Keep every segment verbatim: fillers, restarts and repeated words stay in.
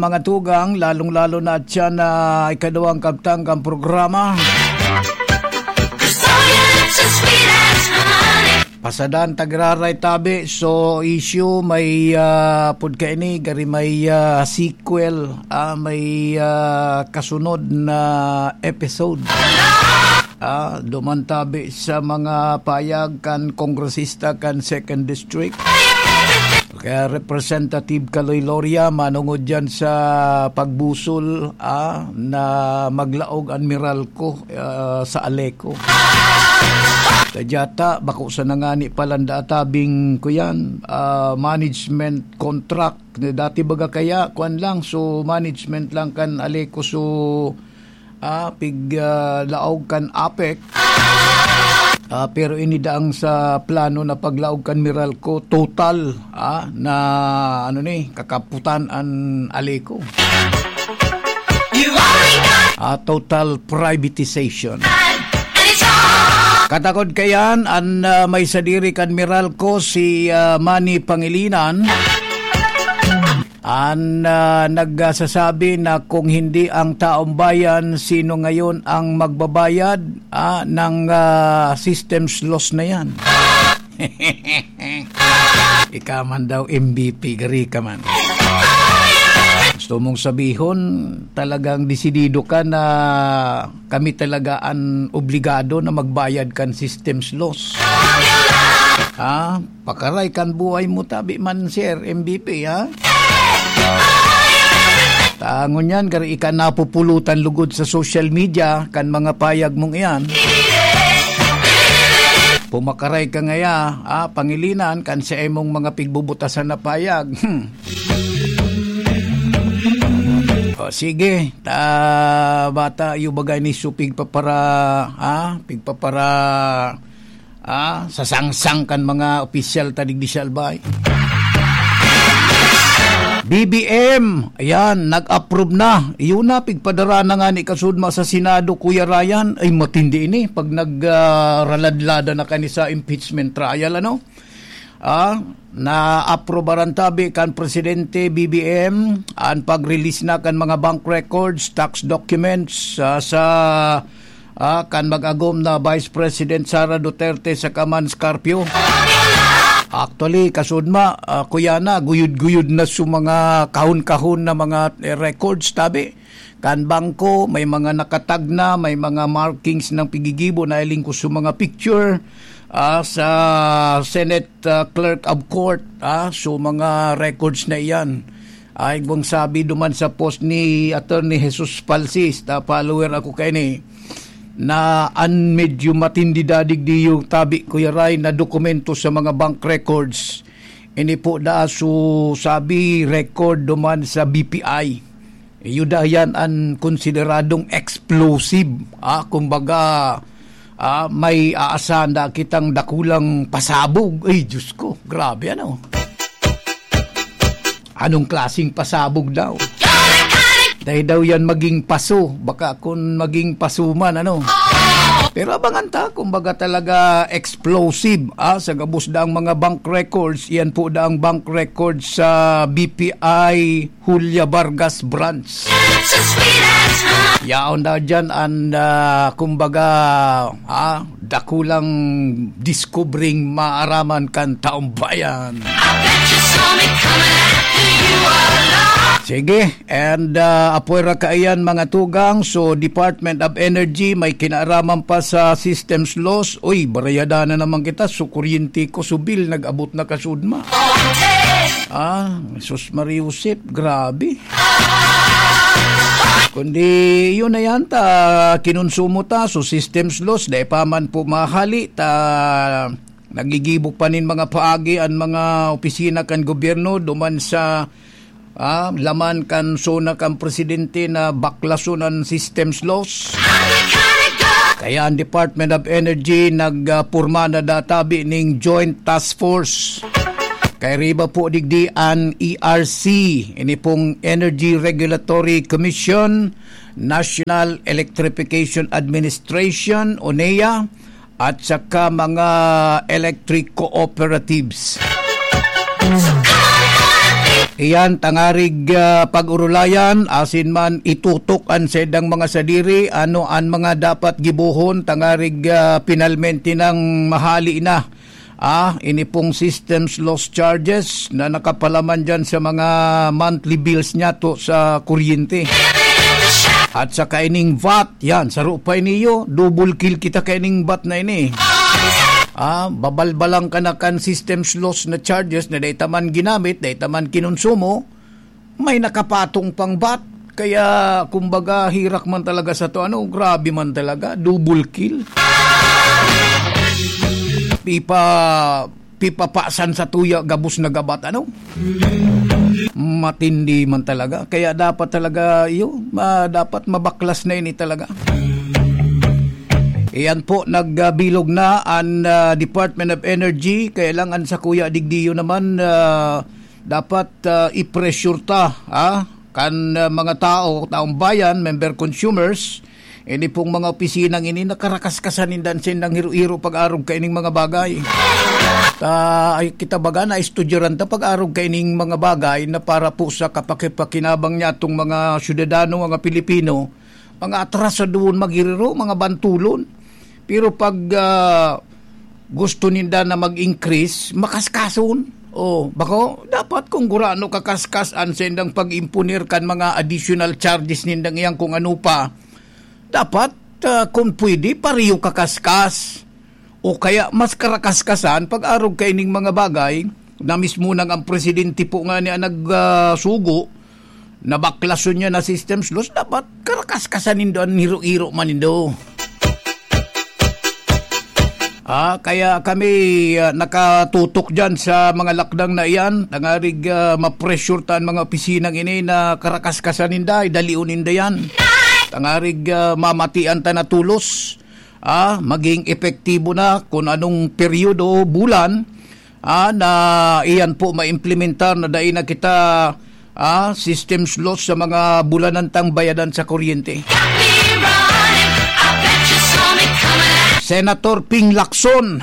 Mga tugang, lalong-lalo na at siya na ikaduwang kabtang kan programa. Pasadan-Tagiraray tabi. So, issue, may, ah, pud kaini, gari may, ah, sequel, ah, may, ah, kasunod na episode. Ah, duman tabi sa mga payag kan kongresista kan Second District. Kaya Representative Kaloy Loria, manungod dyan sa pagbusol, ah, na maglaog an Meralco, ah, sa Aleco. Sa Jata, bako sa nangani palanda atabing kuyan, ah, management contract. Dati baga kaya, kuwan lang, so management lang kan Aleco, so ah, pig, ah, laog kan APEC. Ah, pero ini daang sa plano na paglaog kan Meralco, total, ah, na, ano ni, kakaputan an Aleco. Ah, total privatization. Katakod kayan, an, ah, may sadiri kan Meralco, si, ah, Manny Pangilinan. An, ah, nagsasabi na kung hindi ang taong bayan, sino ngayon ang magbabayad, ah, ng, ah, systems loss na yan? Ika man daw M V P, gari ka man. Gusto mong sabihon, talagang desidido ka na kami talaga an obligado na magbayad kan systems loss? Ha? Pakaray kan buhay mo tabi man, Sir M V P, ha? Ta ngunyan, gari ika napupulutan lugod sa social media kan mga payag mong iyan. Pumakaray ka ngaya, ha, Pangilinan, kan sa imong mga pigbubutasan na payag. Hmm. O, sige, ta, bata, iyo bagay ni su pigpapara-, ha? Pigpapara-, ah, sa sangsang kan mga opisyal ta digdi sa Albay. B B M, ayan, nag-approve na. Iyo na, pigpadara na nga ni kasudma sa Senado, Kuya Ryan. Ay, matindi ini. Pag nag, ah, raladlada na kani sa impeachment trial, ano? Ah, naaprobaran tabi kan Presidente, B B M, an pag-release na kan mga bank records, tax documents, ah, sa, ah, kan mag-agom na Vice President Sara Duterte saka man Scarpio. Actually, kasudma, ah, kuya na, guyod-guyod na su mga kahon-kahon na mga, eh, records, tabi. Kan bangko, may mga nakatag na, may mga markings ng pigigibo na iling ko sa mga picture, ah, sa Senate, ah, Clerk of Court, ah, so mga records na iyan. Ay, kung sabi duman sa post ni Attorney Jesus Falsis, ta follower ako kaini, na an medyo matindi dadig di yung tabi, Kuya Ray, na dokumento sa mga bank records. Ini po da, so sabi, record duman sa B P I. Iyo da yan an konsideradong explosive. Ah, kumbaga, ah, may aasahan da kitang dakulang pasabog. Ay, Diyos ko, grabe, ano? Anong klaseng pasabog daw? Dahil daw yan maging paso. Baka kung maging paso man, ano? Pero abangan ta, kumbaga talaga explosive, ah, sa gabos daang mga bank records. Yan po daang bank records sa B P I Julia Vargas Branch. Yaon daw dyan an, ah, kumbaga, ah, dakulang diskubring maaraman kan taong bayan. I bet you saw me coming after you all along. Sige, and, ah, apwera kaiyan, mga tugang, so Department of Energy may kinaaraman pa sa systems loss. Uy, barayada na naman kita, so kuryente ko, so bill, nag-abot na kasudma. Ah, sus Mariusip, grabe. Kundi yun na yan, ta, kinonsumo ta, so systems loss, dai pa man po mahali, ta, nagigibo pa nin mga paagi an mga opisina kan gobyerno duman sa, ah, laman kan zona kan presidente na baklason an systems loss. Kaya ang Department of Energy nagporma na databi ning Joint Task Force. Kay riba po digdi an E R C, ini pong Energy Regulatory Commission, National Electrification Administration o nea, at saka mga electric cooperatives. Iyan, tangarig, ah, pag-urulayan, asin man itutok an saindang mga sadiri, ano an mga dapat gibohon, tangarig, ah, pinalmente nang mahali na. Ah, ini pong systems loss charges na nakapalaman dyan sa mga monthly bills niyato sa kuryente. At saka ining vat, yan, saro pa iniyo, double kill kita kaining vat na ini. Ah, babalbalang ka na kan systems loss na charges na dai ta man ginamit, dai ta man kinonsumo, may nakapatong pang vat. Kaya, kumbaga, herak man talaga sa to, ano, grabe man talaga, double kill. Pipa, pipapasan sa tuya, gabos na gabat, ano? Matindi man talaga. Kaya dapat talaga, iyo, ma-, dapat mabaklas na ini talaga. Iyan po, nagbilog na an, ah, Department of Energy. Kaya lang, an sa kuya digdiyo naman, ah, dapat, ah, i-pressure ta, ah, kan, ah, mga tao, taong bayan, member consumers, ini pong mga opisinang ini, nakarakaskasan ninda an saindang hiro-hiro pag-arog kaining mga bagay. Ta, ay, kita baga na estudyaran ta pag-arog kaining mga bagay na para po sa kapakipakinabang niya atong mga syudadano, mga Pilipino, mga atrasadon, magiriro, mga bantulon. Pero pag, ah, gusto ninda na mag-increase, makaskason. O, bako, dapat kung gurano kakaskas an saindang pag-imponer kan mga additional charges nindang iyan kung ano pa, dapat, ah, kung pwede, pareho kakaskas. O kaya mas karakaskasan pag-arog kaining mga bagay na mismo nang ang presidente po nga niya nag, ah, sugo, nabaklason niya na systems loss, dapat karakaskasan nindo an hiro-hiro man nindo. Ah, kaya kami, ah, nakatutok dyan sa mga lakdang na iyan. Tangarig, ah, ma-pressure ta an mga opisinang ini na karakaskasan ninda, idalion ninda yan. Tangarig, ah, mamatian ta na tulos. Ah, maging epektibo na kun anong peryodo, bulan, ah, na iyan po maimplementar na dai na kita, ah, systems loss sa mga bulanan tang bayadan sa kuryente. Senator Ping Lacson,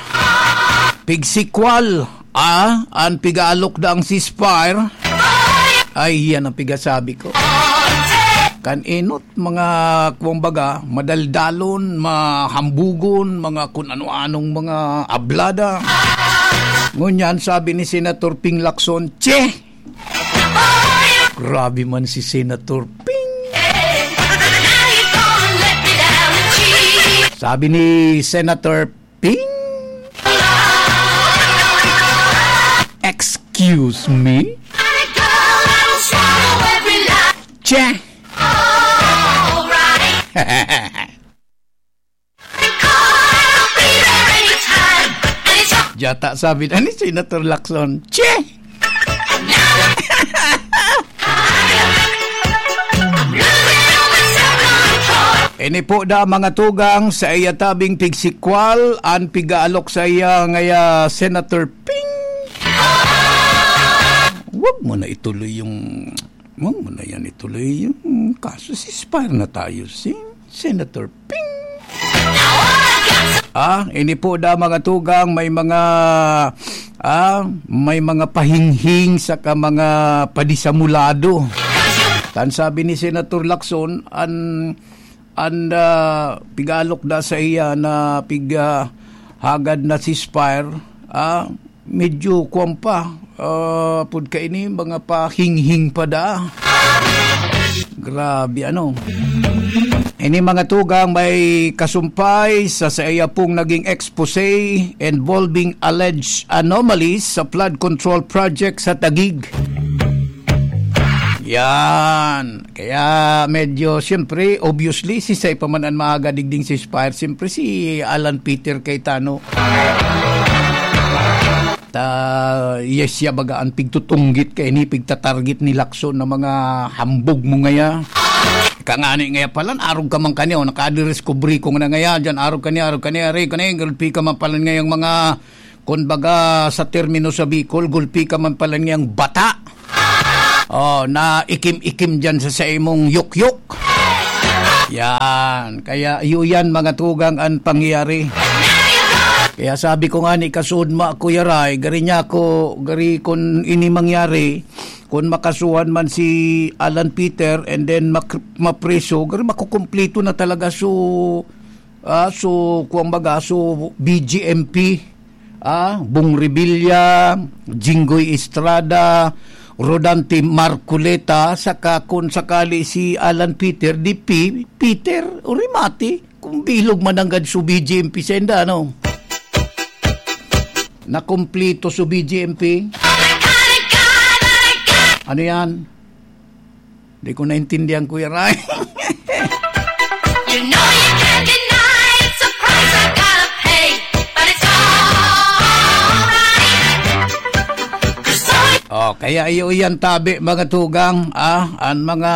pigsikwal, ah, an pigaalok daang ceasefire. Ay, yan ang pigasabi ko. Kan enot, mga, kumbaga, madaldalon, mahambugon, mga kun ano-anong mga ablada. Ngunyan, sabi ni Senator Ping Lacson, "Che!" Grabe man si Senator Ping. Sabi ni Senator Ping? Excuse me? Che! Jata sabi na ni Senator Lacson, "Che!" Ini po da mga tugang sa iya tabing pigsikwal, an pigaalok sa iya ngaya Senator Ping. Wag mo na ituloy yung, wag mo na yan ituloy yung kaso. Ceasefire na tayo, si Senator Ping. Ah, ini po da mga tugang, may mga, ah, may mga pahinghing saka mga padisamulado. Tan sabi ni Senator Lacson, an, an, ah, pigalok da sa iya na pig, ah, hagad na ceasefire, ah, medyo kuwan pa, ah, pud kaini, mga pahinghing pa da. Grabe, ano. Ini mga tugang may kasumpay sa saiya pong naging expose involving alleged anomalies sa flood control project sa Taguig. Yan. Kaya medyo, siyempre, obviously, si Say pa man an maaga digding ceasefire. Siyempre, si Alan Peter Cayetano. Ta, yes, siya baga an pigtutunggit kaini, pigtatarget ni Lacson na mga hambog mo ngaya. Kangani ngaya palan, arog ka man kaniya, o, nakadiskubre ko na ngaya, dyan, arog kaniya, arog kaniya, arog kaniya, gulpi ka man palan ngayang mga, kun baga, sa termino sa Bicol, gulpi ka man palan ngayang bata. Oh, na ikim-ikim dyan sa, sa imong yukyuk. Yan. Kaya iyo yan, mga tugang, an pangyayari. Kaya sabi ko nga ni, kasuod ma, Kuya Ray, gari niya ako, gari kun ini mangyari, Kun makasuhan man si Alan Peter and then mak-, mapriso, garo makukumplito na talaga. So, ah, so, kuwang baga, so, B J M P, ah, Bong Revilla, Jinggoy Estrada, Rodante Marcoleta, saka kun sakali si Alan Peter, di Pi-, Peter, o remate, kung bilog mananggad so B J M P senda, ano? Nakumplito so B J M P. Ano yan? Di ko naintindihan, Kuya Ray. You know you can't deny it. Surprise, I gotta pay, but it's alright. Oh, kaya iyo yan tabi, mga tugang, ah, ang mga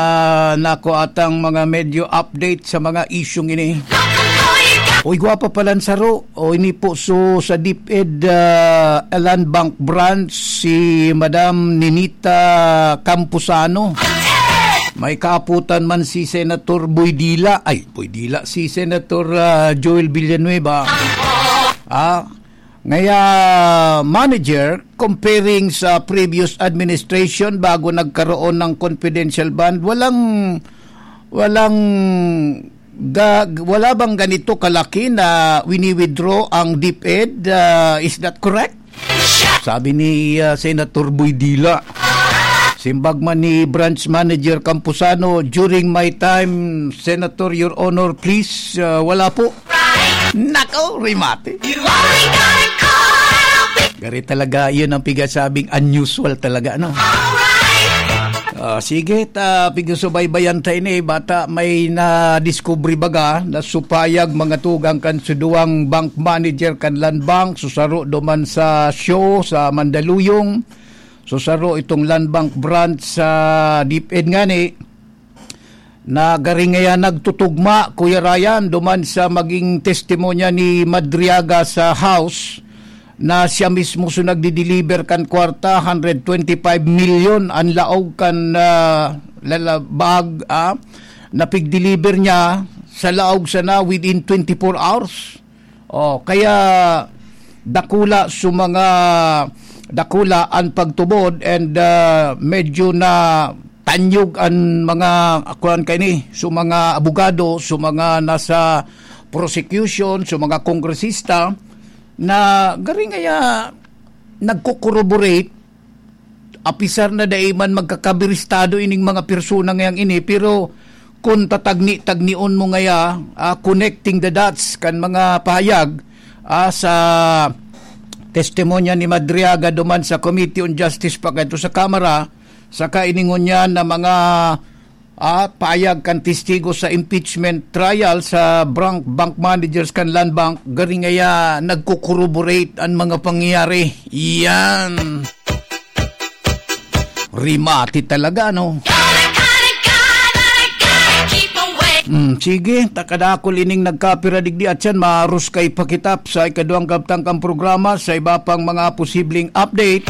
nakuatang mga medyo update sa mga isyung ini. Uy, gwapa palan saro. O, ini po, so, sa DepEd, ah, Land Bank Branch, si Madam Ninita Camposano. May kaaputan man si Senator Boy Dila, ay, Boy Dila, si Senator, ah, Joel Villanueva. Ah, ngaya, manager, comparing sa previous administration bago nagkaroon ng confidential bond, walang, walang ga-, wala bang ganito kalaki na wini-withdraw ang DepEd? Ah, is that correct? Sabi ni, ah, Senator Boy Dila. Simbag man ni Branch Manager Camposano, "During my time, Senator, Your Honor, please, ah, wala po." Nako, remate. You only gotta call. Gari talaga, yun ang pigasabing unusual talaga, no? Alright. Ah, sige, ta, pigsusubaybayan tayo ni bata may na-discovery baga na supayag mga tugang kan suduang bank manager kan Land Bank, susaro duman sa show sa Mandaluyong, susaro itong Land Bank branch sa DepEd ngani, na gari ngaya nagtutugma, Kuya Ryan, duman sa maging testimonya ni Madriaga sa House, na siya mismo so nagdi-deliver kan kwarta, hundred twenty-five million an laog kan, ah, lalabag, ah, na pigdeliver niya sa laog sana within twenty-four hours. Oh, kaya dakula so mga, dakula an pagtubod and, ah, medyo na tanyog an mga, kuwan kaini, so mga abogado, so mga nasa prosecution, so mga kongresista, na gari ngaya nagko-corroborate, apisar na dai man magkakabiristado ining mga persona ngayang ini, pero kun tatagni-tagnion mo ngaya, ah, connecting the dots kan mga pahayag, ah, sa testimonya ni Madriaga duman sa Committee on Justice pa kadto sa Kamara, saka ini ngunyan na mga, ah, pahayag kan testigo sa impeachment trial sa brank-, bank managers kan Land Bank, gari ngaya nagko-corroborate an mga pangyayari. Yan. Rimati talaga, no? Hmm, sige, ta kadakul ining nagkapira digdi at yan, maruskay pa kita sa ikaduwang kabtang kan programa sa iba pang mga posibleng update,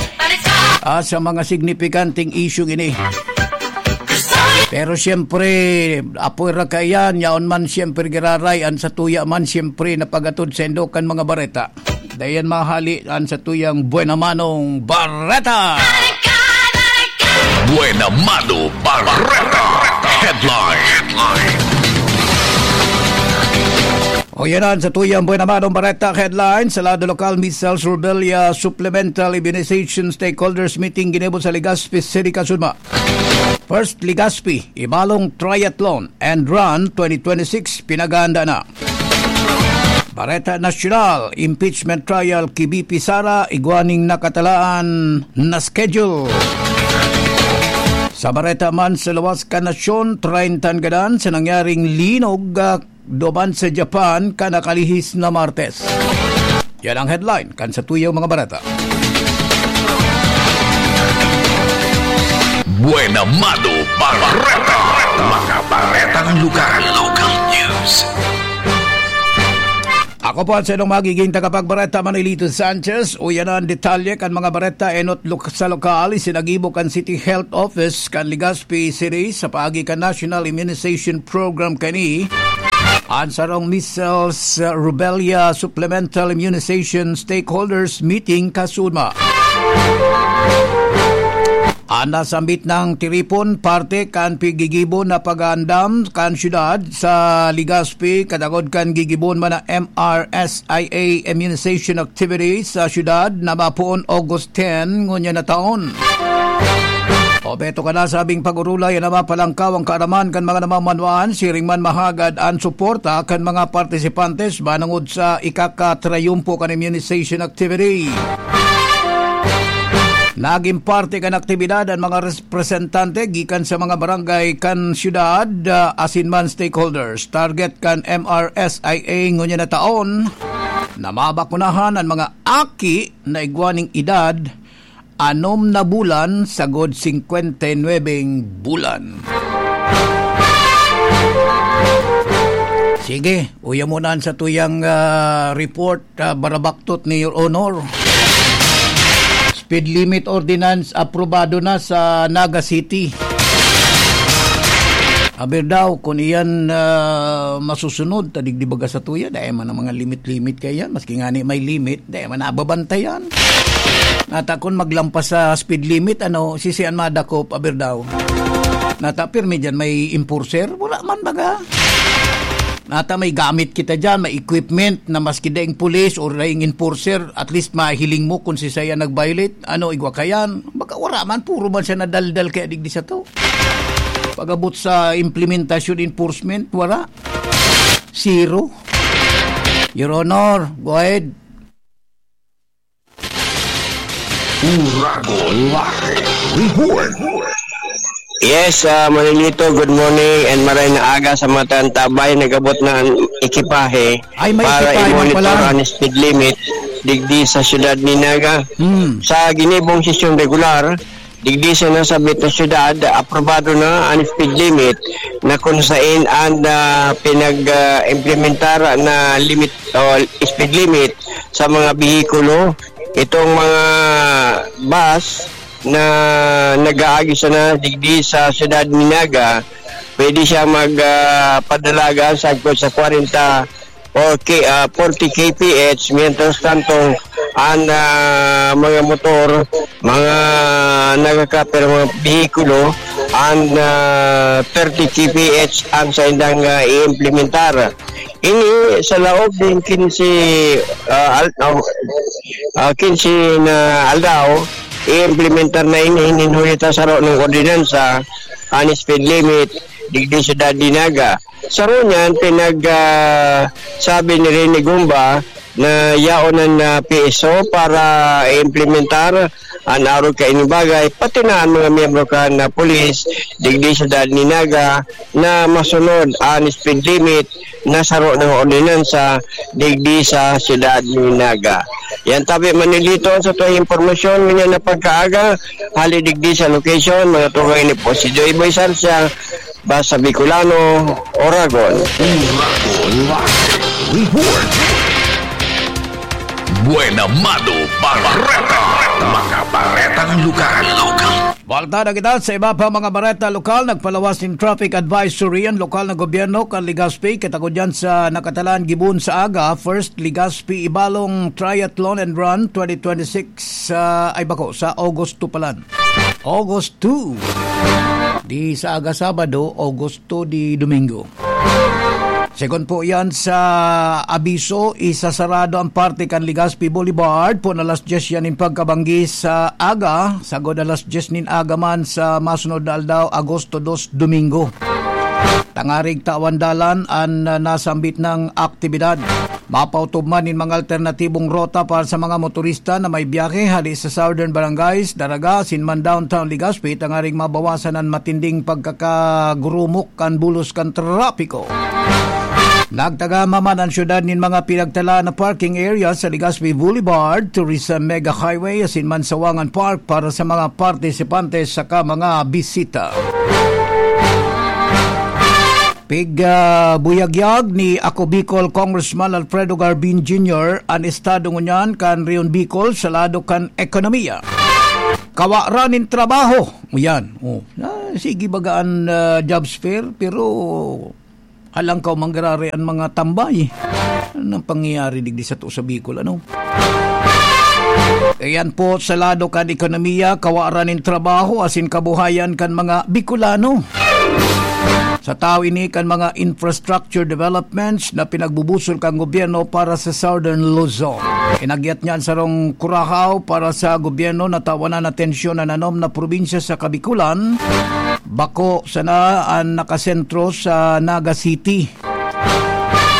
ah, sa mga signipikanting isyung ini. Pero siyempre, apoy ra kaiyan, yaon man siyempre giraray, an satuya man siyempre napagatod sa indo kan mga bareta. Dayan mahali an satuyang Buena Manong Bareta. Buena Mano Bareta. Headline. O yan ang satuyang Buena Manong Bareta headline. Sa lado lokal, Measles Rubella Supplemental Immunization Stakeholders Meeting ginibo sa Legazpi City, Kasudma. First Legazpi, Ibalong Triathlon and Run twenty twenty-six, pinaganda na. Bareta Nasyonal, impeachment trial ki V P Sara, igwa ning nakatalaan na schedule. Sa bareta man sa luwas kan nasyon, treinta an gadan sa nangyaring linog, ah, duman sa Japan kan nakalihis na Martes. Yan ang headline kan satuyang mga bareta. Buena Mano Bareta. Mga baretang lokal. Local news. Ako po ang saiyong magiging tagapagbareta, Manolito Sanchez. Uya na ang detalye kan mga bareta enot lok-, sa lokal, isinagibo kan City Health Office kan Legazpi City sa paagi kan National Immunization Program kani. An sarong measles, uh, rubella supplemental immunization stakeholders meeting kasudma. An nasambit na tiripon, parte kan piggigibo na pag-aandam kan syudad sa Legazpi, katagod kan gigibohon man na M R S I A immunization activity sa syudad na mapoon August ten ngunyan na taon. Obheto kan nasabing pag-orolay na mapalangkaw an kaaraman kan mga namamanwaan, siring man mahagad an suporta kan mga partisipantes manongod sa ikakatrayumpo kan immunization activity. Nagin parte kan aktibidad an mga representante gikan sa mga barangay kan syudad, ah, asin man stakeholders. Target kan M R S I A ngunyan na taon na mabakunahan an mga aki na igwa nin edad anom na bulan sagod singkwenta y nuebeng bulan. Sige, uya mo na an satuyang, ah, report, ah, barabaktot ni Your Honor. Speed limit ordinance aprobado na sa Naga City. Aber daw, kung iyan, ah, masusunod, ta digdi baga satuya, dai man ang mga limit-limit kaiyan. Maski ngani may limit, dai man nababantayan. Nata kun maglampas sa speed limit, ano, sisian madakop, aber daw. Nata pirmi diyan may enforcer, wala man baga. Nata may gamit kita diyan, may equipment na maski daing pulis o daing enforcer, at least mahiling mo kung si saya nag-violate, ano, igwa kayan. Baga wala man, puro man siya nadaldal kaya digdi sato. Pag-abot sa implementasyon, enforcement, wala. Zero. Your Honor, go ahead. Uragon Live Report. Yes, ah, Manolito, good morning and maray na aga sa mga tantabay. Nag-abot na ang ekipahe Ay, may para ekipahe man i-monitor pala. Ang speed limit digdi sa siyudad ni Naga. Hmm. Sa ginibong sesyon regular, digdi sa nasabit na siyudad, aprobado na ang speed limit na kung sain ang, ah, pinag, ah, implementar na limit o speed limit sa mga behikulo. Itong mga bus na nag-aagi sana digdi sa siyudad ni Naga, pwede siya mag, ah, padalagan sagkod sa kwarenta o ki-, ah, forty K P H, mientras tanto, ang, ah, mga motor, mga nagkakaper, mga behikulo, ang, ah, thirty K P H ang saindang, ah, i-implementar. Ini sa laog nin kinse, ah, al-, ah, ah, kinse na aldaw, i-implementar na ini nin huli ta saro nin ordinansa, ang speed limit, digdi sa Siyudad ni Naga. Saro niyan, pinag, ah, sabi ni Rene Gumba na yaon an, ah, P S O para implementar an arog kaini bagay, pati na an mga miyembro kan, ah, pulis digdi sa Siyudad ni Naga na masunod an speed limit na saro na ordinansa digdi sa Siyudad ni Naga. Yan tabi, Manolito, sa tuwang impormasyon ngunyan na pagkaaga, hali digdi sa location, mga tugang ini po si Joy Boy Sarsia, Basta Bicolano, Oragon. Uragon Live Report. Buena Mano Bareta. Mga baretang lokal. Balta na kita sa iba pa mga bareta lokal. Nagpalawas nin traffic advisory an lokal na gobyerno kan Legazpi, katagod yan sa nakatalaan gibon sa aga, First Legazpi Ibalong Triathlon and Run twenty twenty-six, ah, ay bako, sa August two palan. August two. Di sa aga Sabado, August two di Domingo. Segun po yan sa abiso, isasarado ang parte kan Legazpi Boulevard poon alas dyes yan nin pagkabanggi sa aga, sagod alas dyes nin aga man sa masunod na aldaw, Agosto dos, Domingo. Tangarig tawan dalan an, ah, nasambit na aktibidad. Mapautob man nin mga alternatibong rota para sa mga motorista na may biyahe hali sa Southern Barangays, Daraga, asin man Downtown Legazpi, tangaring mabawasan an matinding pagkakagurumok kan bulos kan trapiko. Nagtagama man an siyudad nin mga pinagtalaan na parking area sa Legazpi Boulevard, Tourism Mega Highway, asin man Sawangan Park para sa mga partisipante saka mga bisita. Pig, ah, buyagyag ni Ako Bicol Congressman Alfredo Garbin Junior an estado ngunyan kan Rehiyon Bicol sa lado kan ekonomiya. Kawa ra nin trabaho. Yan. Oh. Ah, sige baga an, ah, jobs fair, pero halangkaw manggararay an mga tambay. Anong pangyayari digdi sato sa Bicol, ano? Iyan po sa lado kan ekonomiya, kawaran nin trabaho asin kabuhayan kan mga Bicolano. Sa tahaw ini kan mga infrastructure developments na pinagbubusol kan gobyerno para sa Southern Luzon. Inagyat niya an sarong kurahaw para sa gobyerno na tawanan atensyon an anom na probinsya sa Kabikulan. Bako sana an nakasentro sa Naga City.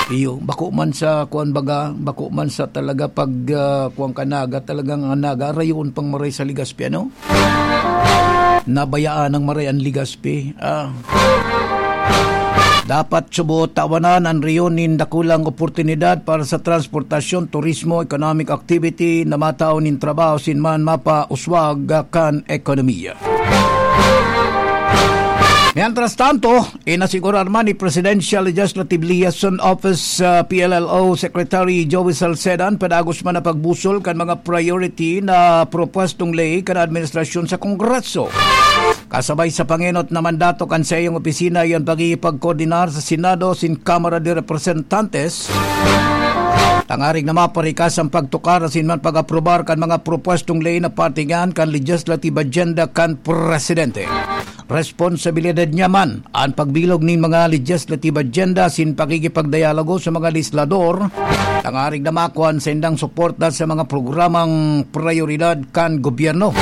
Iyo, bako man sa kuwan baga, bako man sa talaga pag, ah, kuwan ka Naga, talagang ang Naga, rayoon pang maray sa Legazpi, ano? Nabayaan ng maray ang Legazpi. Ah. Dapat subot tawanan an rehiyon nin dakulang oportunidad para sa transportasyon, turismo, economic activity na matao nin trabaho sin man mapauswag kan ekonomiya. Mientras tanto, inasigurar man ni Presidential Legislative Liaison Office, ah, P L L O Secretary Joey Salceda an padagos man na pagbusol kan mga priority na propwestong ley kan administrasyon sa Kongreso. Kasabay sa pangenot na mandato kan saiyang opisina, iyan pakikipagkoordinar sa Senado sin Kamara de Representantes, tangarig na maparikas ang pagtukar asin man pag-aprobar kan mga propwestong ley na parte iyan kan legislative agenda kan presidente. Responsabilidad niya man an pagbilog nin mga legislative agenda sin pakikipagdialogo sa mga legislador, tangarig na makua an saindang suporta sa mga programang prayoridad kan gobyerno.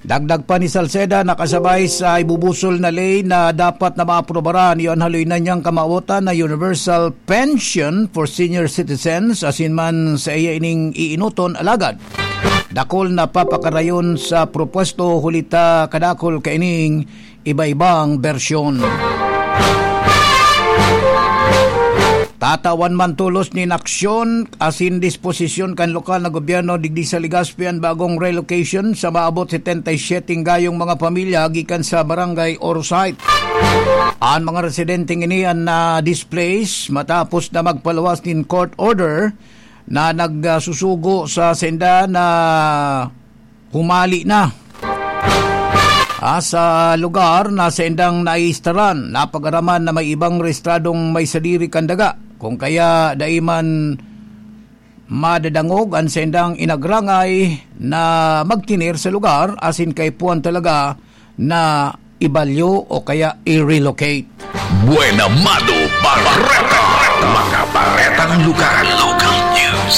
Dagdag pa ni Salceda, nakasabay sa ibubusol na ley na dapat na maaprobaran, iyo an haloy na niyang kamawotan na universal pension for senior citizens, asin man sa iya ining iinoton, alagad dakul na papakarayon sa propwesto, huli ta kadakul kaining iba-ibang bersyon. Tatawan man tolos nin aksyon asin disposisyon kan lokal na gobyerno digdi sa Legazpi an bagong relocation sa maabot setenta y siyete gayong mga pamilya gikan sa Barangay Oro Site. An mga residenteng ini an na-displace matapos na magpaluwas nin court order na nagsusugo sa sainda na humali na, ah, sa lugar na saindang naistaran. Napag-araman na may ibang rehistradong may sadiri kan daga, kung kaya dai man madadangog an saindang inagrangay na magtener sa lugar, asin kaipuhan talaga na ibalyo o kaya i-relocate. Buena Mano Bareta. Mga baretang lokal. Local news.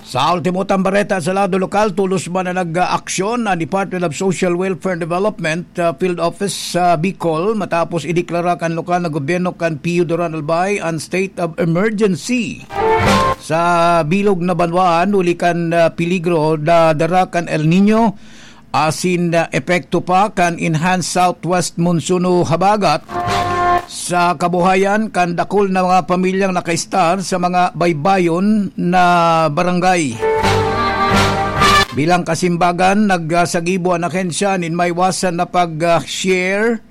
Sa ultimo tang bareta sa lado lokal, tolos man na nag-aaksyon ang Department of Social Welfare and Development, ah, Field Office sa Bicol matapos ideklara kan lokal na gobyerno kan Pio Duran Albay an state of emergency sa bilog na banwaan huli kan, ah, peligro na dara kan El Niño asin, ah, epekto pa kan enhanced southwest monsoon o habagat sa kabuhayan kan dakul na mga pamilyang nakaistar sa mga baybayon na barangay. Bilang kasimbagan, nagsagibo an ahensya nin maiwasan na pag, ah, share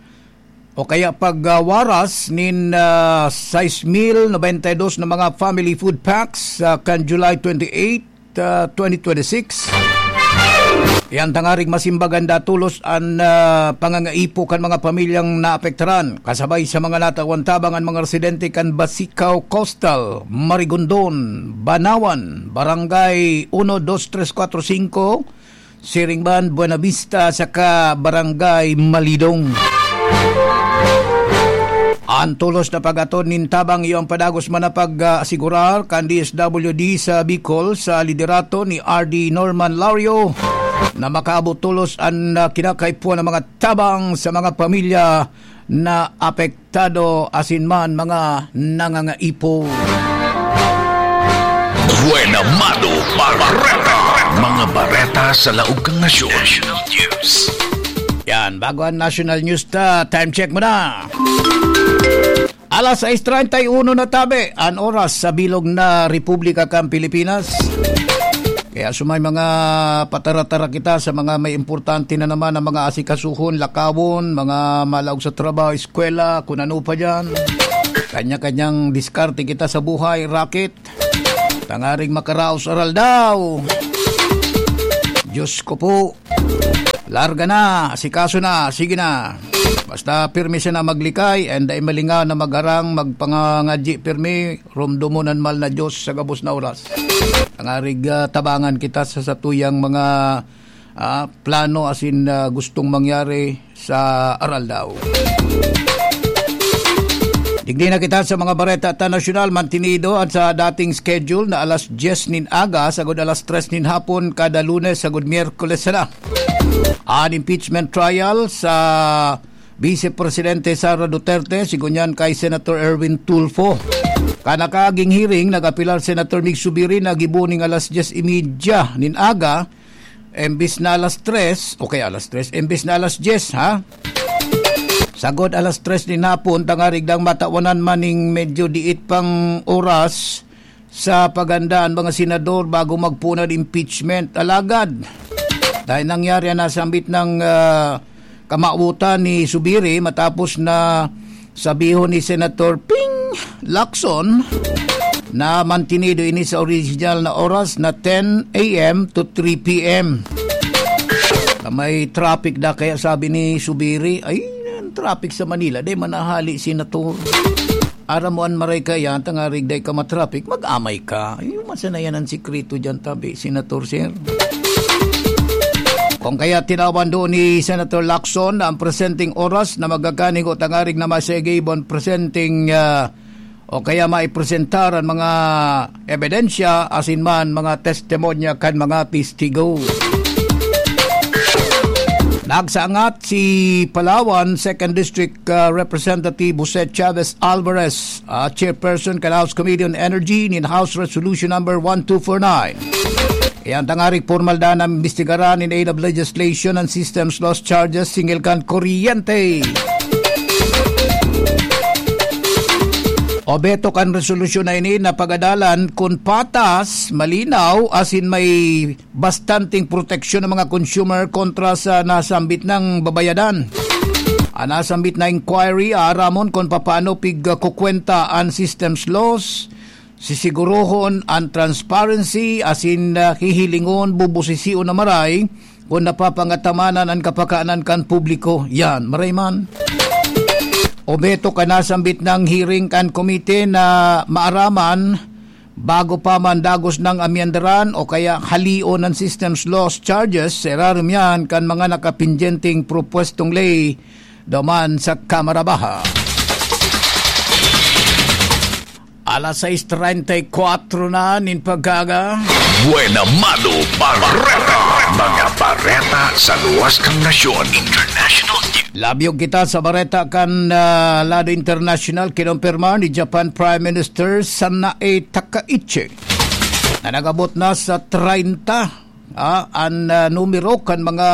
o kaya pagwaras nin, ah, sais mil nobenta y dos na mga family food packs, ah, kan July twenty-eight, ah, twenty twenty-six. Iyan tangaring masimbag an datolos an, ah, pangangaipo kan mga pamilyang naapektaran. Kasabay sa mga natawan tabang an mga residente kan Basicaw Coastal, Marigondon, Banawan, Barangay uno, dos, tres, kuwatro, singko, siring man Buenavista saka Barangay Malidong. An tolos na pag-atod nin tabang iyo an padagos man na pag-asigurar kan D S W D sa Bicol sa liderato ni R D Norman Lario na makaabot tolos an, ah, kinakaipuhan na mga tabang sa mga pamilya na apektado asin man mga nangangaipo. Buena Mano Bareta. Mga bareta sa laog kan nasyon. National News. Yan, bago ang national news ta, time check muna. Alas sais treinta y uno na tabi an oras sa bilog na Republika kan Pilipinas. Kaya sumay mga patara-tara kita sa mga may importante na naman na mga asikasuhon, lakawon, mga malaog sa trabaho, eskwela, kung ano pa dyan. Kanya-kanyang diskarte kita sa buhay, racket. Tangaring makaraos aral daw. Diyos ko po. Larga na, asikaso na, sige na. Basta pirmi siya na maglikay, and dai malingaw na magharang, magpangangadyi pirmi, rumdomon an mahal na Diyos sa gabos na oras. Tangarig, ah, tabangan kita sa satuyang mga, ah, plano asin, ah, gustong mangyari sa aral daw. Digdi na kita sa mga bareta ta nasyonal, mantinido an sa dating schedule na alas dyes nin aga, sagod alas tres nin hapon, kada Lunes, sagod Miyerkules sana. An impeachment trial sa Vice Presidente Sara Duterte, sigunyan kay Senator Erwin Tulfo. Kan nakaaging hearing, nag-apelar Senator Mig Subiri na gibo ning alas dyes y media nin aga, embis na alas tres, o kaya alas tres, embis na alas dyes, ha? Sagod alas tres nin hapon, tangarig dang matawanan man ning medyo diit pang oras sa paganda an mga senador bago magpoon an impeachment. Alagad, dahil nangyari an nasambit na, ah, kamawotan ni Subiri matapos na sabihon ni Senator Ping Lacson na mantinido ini sa original na oras na ten a m to three p m. Na may traffic da, kaya sabi ni Subiri, "Ay, ang traffic sa Manila, di man nahali, Senator." Aram mo an maray kaya, tangarig dai ka matraffic, mag-amay ka. Yung masanayan ang sikreto dyan, tabi, Senator, sir. Kung kaya tinawan doon ni Senator Lacson na ang presenteng oras na magkakanigo tangarig na masegibon presenteng, ah, o kaya maipresentar ang mga ebidensya, asin man mga testimonya kan mga testigo. Nagsaangat si Palawan Second District, ah, Representative Jose Chavez Alvarez, ah, chairperson kan House Committee on Energy nin House Resolution Number one two four nine. Iyan tangarig formal da na imbestigaran in aid of legislation and systems laws charges singil kan kuryente. Obeto kan resolusyon na ini na pagadalan kun patas, malinaw, asin may bastanteng proteksyon ng mga consumer kontra sa nasambit nang babayadan. Ang nasambit na inquiry aaramon kung papaano pigkukwenta an systems laws, sisigurohon an transparency asin, ah, hihilingon, bubusision na maray kung napapangatamanan an kapakanan kan publiko. Yan, maray man. Obeto kan nasambit nang hearing kan komite na maaraman bago pa man dagos nang amyendaran o kaya halion an systems laws charges, sa irarom yan kan mga nakapindyenteng propwestong ley duman sa Kamara Baha. Alas sais treinta y cuatro na nin pagkaaga. Buena Mano Bareta. Mga bareta sa luwas kan nasyon. International News. Labyog kita sa bareta kan, ah, lado internasyonal. Kinumpirma ni Japan Prime Minister Sanae Takaichi na nag-abot na sa treinta, ah, an, ah, numero kan mga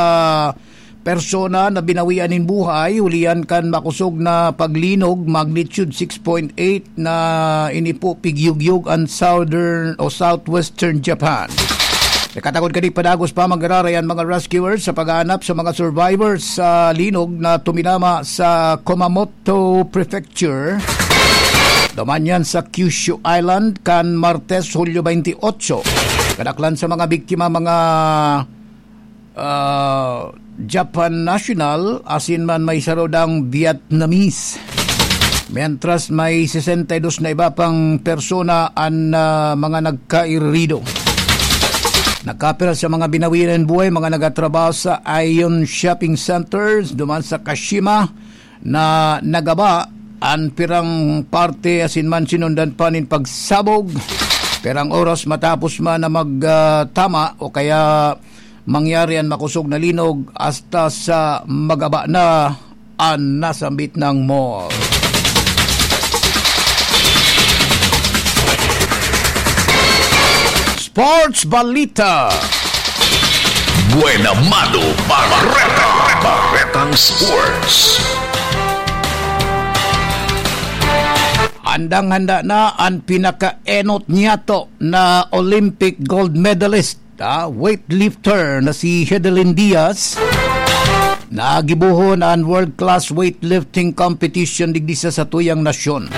persona na binawian nin buhay hulihan kan makosog na paglinog, magnitude six point eight, na inipo pigyugyog an southern o southwestern Japan. Nakatakod kadi padagos pa mag-araray an mga rescuers sa paghahanap sa mga survivors sa linog na tuminama sa Kumamoto Prefecture. Duman yan sa Kyushu Island kan Martes, Hulyo twenty-eight. Kadaklan sa mga biktima, mga, ah, Japan national, asin man may saro dang Vietnamese. Mientras may sesenta y dos na iba pang persona an, ah, mga nagkairido. Nagkapira sa mga binawian nin buhay, mga nagatrabaho sa Aeon Shopping Centers, duman sa Kashima, na nagaba an pirang parte asin man sinundan pa nin pagsabog. Pirang oras matapos man na mag, ah, tama o kaya mangyari an makosog na linog hasta sa magaba na an nasambit na mall. Sports Balita. Buena Mano Bareta. Baretang Sports. Handang-handa na an pinakaenot niyato na Olympic gold medalist, ah, weightlifter na si Hedelin Diaz, na gibohon an world-class weightlifting competition digdi sa satuyang nasyon.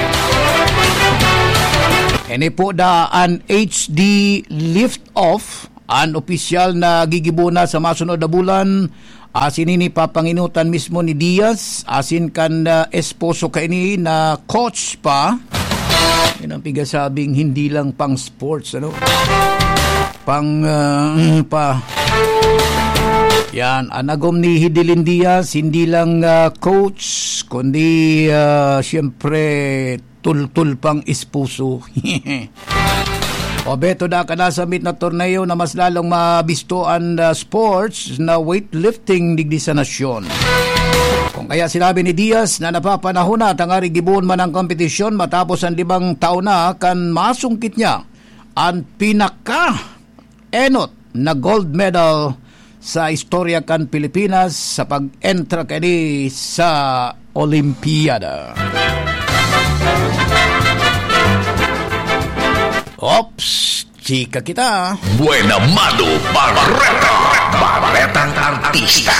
Ini po da an H D Lift Off An opisyal na gigibona sa masunod na bulan, asin ini papanginutan mismo ni Diaz, asin kan, ah, esposo kaini na coach pa. Yan ang pigasabing hindi lang pang sports, ano? Pang, ah, pa. Yan, an agom ni Hidelin Diaz, hindi lang, ah, coach, kundi, ah, siyempre, tultol pang esposo. O Beto, da ka nasambit na torneo na mas lalong mabisto an, ah, sports na weightlifting digdi sa nasyon. Kung kaya sinabi ni Diaz na napapanahon na tangarig gibohon man ang kompetisyon matapos an limang taon na kan masungkit niya an pinaka enot na gold medal sa istorya kan Pilipinas sa pag-entra kani sa Olimpiada. Ops, chika kita. Buena Mano Barreta, Barretang Artista.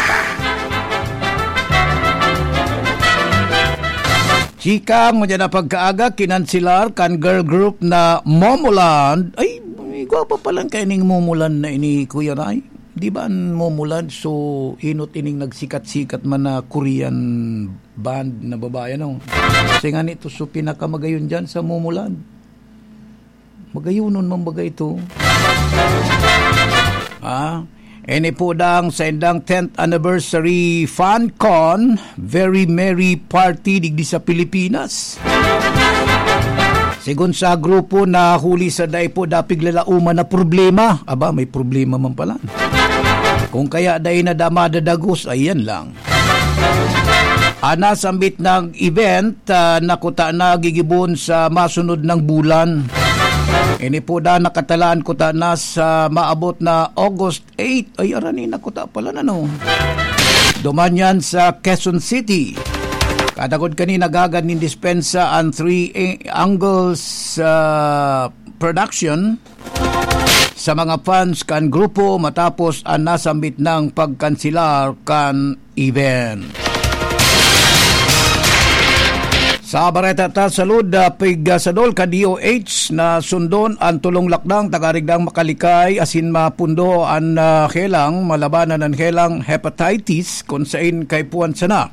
Chika, ngunyan na pagkaaga, kinanselar kan girl group na Momoland. Ay, gwapa pa lang kaining Momoland na ini, Kuya Ray. Di ba an Momoland, so, enot ining nagsikat-sikat man na Korean band na babae, ano? Kasi nga nito, so, pinakamagayon dyan sa Momoland. Magayonon man baga ito. Ah, ini po dang sa indang tenth anniversary fan con, very merry party digdi sa Pilipinas. Sigon sa grupo na huli sa dai po dapig lalauman na problema. Aba, may problema man pala. Kung kaya dai na da madadagos, ayan lang. An nasambit na event, ah, nakuta na gigibon sa masunod na bulan. Ini po da nakatalaan kuta na sa maabot na August eight. Ay, arani nakuta pala na, no? Duman yan sa Quezon City. Katagod kani nagagad nin dispensa an Three Angles, ah, Production sa mga fans kan grupo matapos an nasambit nang pagkanselar kan event. Sa bareta ta, salud, ah, pigsadol kan D O H na sundon an tolong lakdang tangarig dang makalikay asin mapundo an, ah, helang, malabanan an helang hepatitis kun sain kaipuhan sana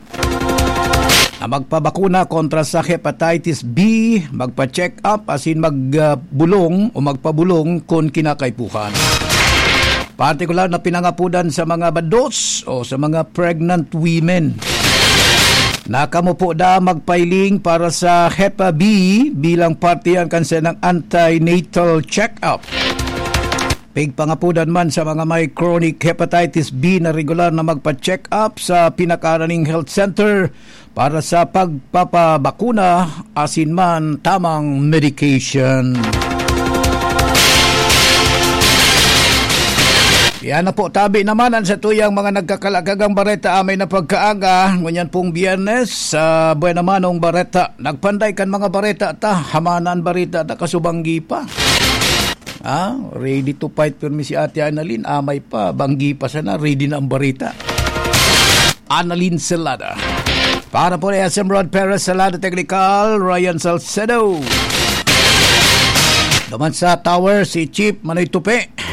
na magpabakuna kontra sa hepatitis B, magpa-check up asin mag, ah, bulong o magpabulong kun kinakaipuhan. Partikular na pinangapodan sa mga bados o sa mga pregnant women. Na kamo po da magpailing para sa Hepa B bilang parte yan kan sanang antenatal check-up. Pigpangapodan man sa mga may chronic hepatitis B na regular na magpa-check up sa pinakaraning health center para sa pagpapabakuna asin man tamang medication. Yan na po, tabi naman an satuyang mga nagkakalakagang bareta amay na pagkaaga. Ngunyan pong Biyernes, sa Buena Manong Bareta. Nagpanday kan mga bareta ta, hamanan bareta ta, kasubanggi pa. Ah, ready to fight pirmi si Ate Annalyn. Amay pa, banggi pa sana, ready na ang barita. Annalyn Salada. Para po ni S M Rod Perez, Salada Technical, Ryan Salcedo. Naman sa tower, si Chief Manoy Tupi.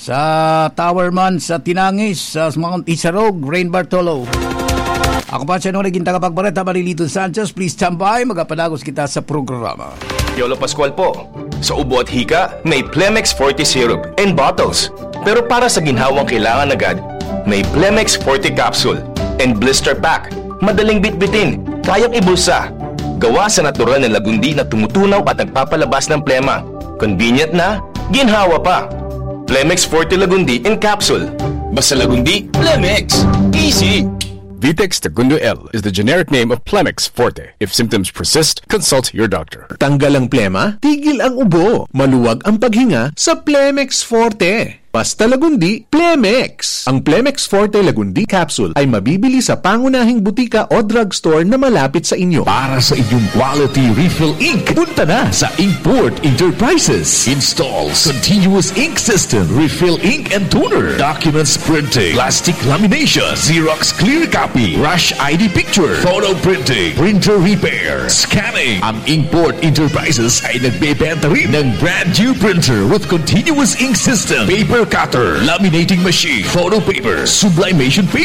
Sa tower man, sa Tinangis, sa Mount Isarog, Rain Bartolo. Ako pa siya nung naging tagapagbareta, Marilito Sanchez. Please stand by, magapadagos kita sa programa. Yolo Pascual po. Sa ubo at hika, may Plemex Forte Syrup and bottles. Pero para sa ginhawang kailangan agad, may Plemex Forte Capsule and Blister Pack. Madaling bitbitin, kayang ibulsa. Gawa sa natural na lagundi na tumutunaw at nagpapalabas ng plema. Convenient na, ginhawa pa. Plemex Forte Lagundi in Capsule. Basta Lagundi, Plemex. Easy! Vitex Tagundo L is the generic name of Plemex Forte. If symptoms persist, consult your doctor. Tanggal ang plema, tigil ang ubo, maluwag ang paghinga sa Plemex Forte. Basta Lagundi, Plemex! Ang Plemex Forte Lagundi Capsule ay mabibili sa pangunahing butika o drugstore na malapit sa inyo. Para sa inyong quality refill ink, punta na sa Inkport Enterprises. Installs continuous ink system, refill ink and toner, documents printing, plastic lamination, Xerox clear copy, rush I D picture, photo printing, printer repair, scanning. Ang Inkport Enterprises ay nagbebenta rin ng brand new printer with continuous ink system, paper cutter, laminating machine, photo paper, sublimation paper,